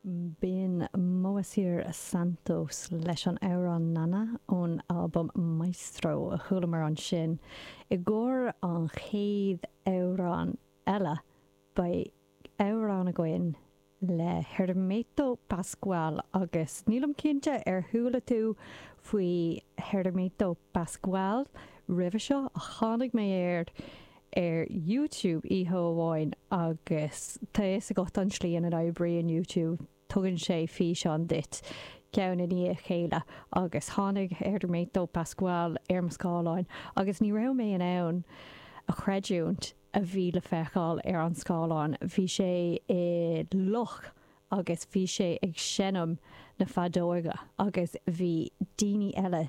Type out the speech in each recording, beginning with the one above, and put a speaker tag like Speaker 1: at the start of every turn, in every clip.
Speaker 1: B'in Moacir Santos leis an amhrán Nana ón albam Maestro a chualamar ansin. I gcomhair an chéad amhrán eile, beidh amhrán againn le Hermeto Pascoal agus nílim cinnte ar chuala tú faoi Hermeto Pascoal roimhe seo ach tháinig mé air ar YouTube oíche amháin agus tá fhios agat an tslí ina n-oibríonn YouTube, tugann sé físeán duit ceann i ndiaidh a chéile agus tháinig Hermeto Pascoal ar mo scáileán agus ní raibh mé in ann a chreidiúint a bhí le feiceáil ar an scáileán. Bhí sé i loch agus bhí sé ag seinm na feadóige agus bhí daoine eile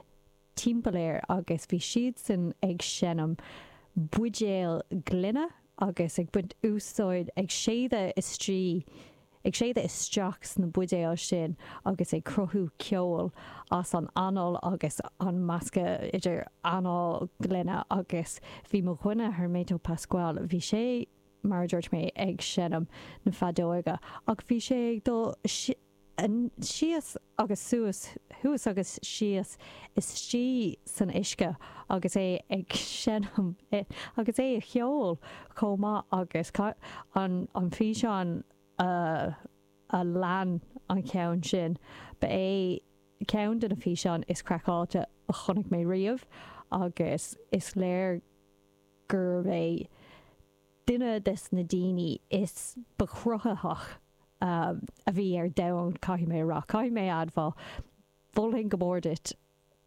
Speaker 1: timpeall air agus bhí siadsan ag seinm buidéal gloine agus ag baint úsáid, ag séideadh istigh, ag séideadh isteach sna buidéil sin agus ag cruthú ceoil as an anáil agus an meascadh idir anáil gloine agus bhí mo dhuine Hermeto Pascoal, bhí sé, mar a dúirt mé, ag seinm na feadóige ach bhí sé ag dul síos agus suas, thuas agus síos istigh san uisce agus é ag seinm agus é ag ceol chomh maith agus an an físeán a a lean an ceann sin, ba é ceann de na físeáin is craiceáilte a chonaic mé riamh agus is léir gurbh é duine des na daoine is ba chruthaitheach a bhí ar domhan, caithfidh mé a rá. Caithfidh mé a admháil, mholfainn go mór duit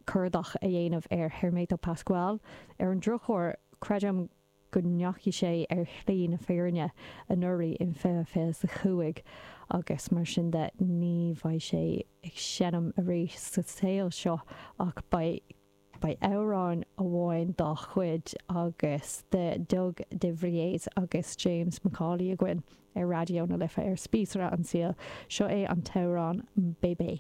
Speaker 1: cuardach a dhéanamh ar Hermeto Pascoal. Ar an drochuair, creidim go ndeachaigh sé ar shlí na fírinne anuraidh in 2025 agus mar sin de ní bheidh sé ag seinm arís sa saol seo ach beidh Beidh amhrán amháin dá chuid agus de Doug de Vries agus James McAuley againn ar Raidió na Life ar Spíosra an tSaoil. Seo é an t-amhrán Bébé.